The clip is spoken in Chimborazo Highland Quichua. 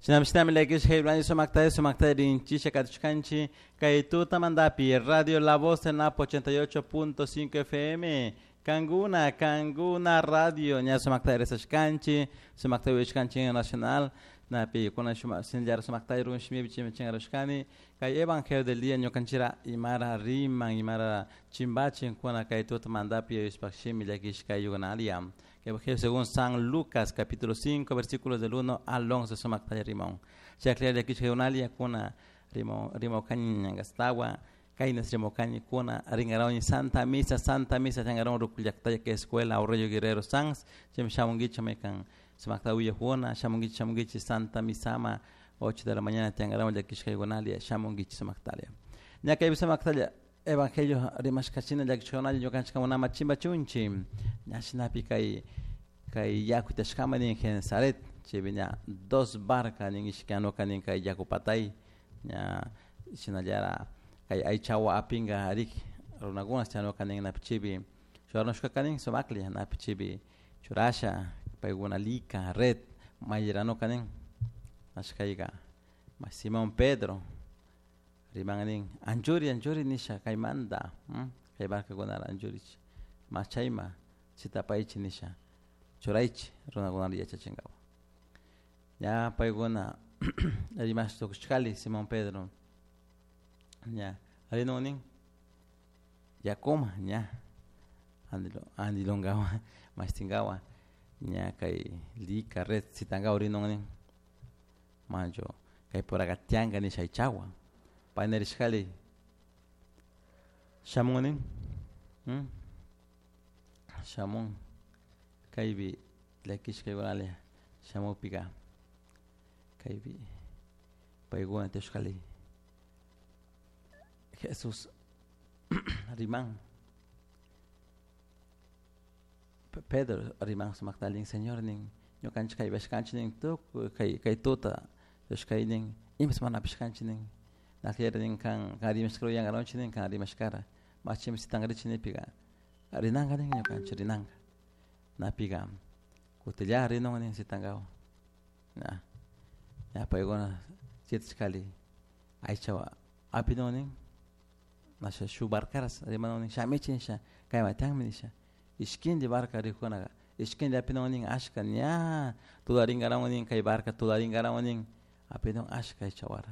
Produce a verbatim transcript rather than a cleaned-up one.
Shinami llakishka sumakta sumakta rinchisha katishkanchik kay tutamantapi Radio La Voz del Napo ochenta y ocho punto cinco F M Kanguna, Kanguna Radio ña sumakta risashkanchik sumakta uyashkanchik nacional napi kuna sinllar sumakta run shimipi chimichingarushkani kay Evangelio del día ñukanchira imara riman imara chimbachin kuna kay tutamantapi yuyashpak shimi llakishka yugunalia. Evangelio según San Lucas, capítulo cinco, versículos del uno al once, sumakta rimón. Chaklia llakishka yugunalia kuna rimo rimo kañangastawa kaynas rimo kañi kuna ringarawni Santa Misa, Santa Misa changaron rukullaktaya que escuela Aurelio Guerrero Sanz, chim shamungicha mekan sumakta uyajuna, shamungicha shamungichi Santa Misama ocho de la mañana changaron llakishka yugunalia shamungichi sumaktalia. Ñakaypi sumaktalia Evangelio rimashkachina llakishka yugunalia ñukanchik munama chimba chunchi ñashinapi kay kay yaku tashkama nin Genesaret chaypi ña dos barca nin ishkanuka nin kay yaku patay ña shinallara kay aychawa apinga rik runakuna chanuka nin napi chaypi churanushkaka nin sumaklla napi chaypi churasha paykuna lika red mayranuka nin ashkayka Simón Pedro riman nin anchuri anchuri nisha kaymanta kay barcakunara anchurichi machayma chitapaychi nisha churaychi runakunata yachachinkawa ña paykuna rimash tukushkali Simón Pedro ña rinun nin yakuma ña andilo andilonkawa mashtinkawa ña kay lika red sitankawa rinun nin mancho kay puraka tianka nisha aychawa paynarishkali shamun nin hmm? Shamun kaypi llakishka yugunalia shamukpika kaypi paykuna tiyashkali Jesús riman Pedro riman sumakta nin Señor nin ñukanchik kaypashkanchik nin tukuy kay kay tuta tiyashkay nin imas mana apishkanchik nin nakllari nin kan kan rimashkara uyankaronchik nin kan rimashkara machimi sitankarichik nipika rinanka nin ñukanchik rinanka napika kutilla rinun nin sitankawa ña ña paykuna sitashkali aychawa apinun nin nasha shuk barcaras rimanun nin shamichi nisha kayma tiyanmi nisha ishkindi barca rikunaka ishkindi apinun nin ashka ña tularinkarawun nin kay barca tularinkarawun nin apinun ashka aychawara.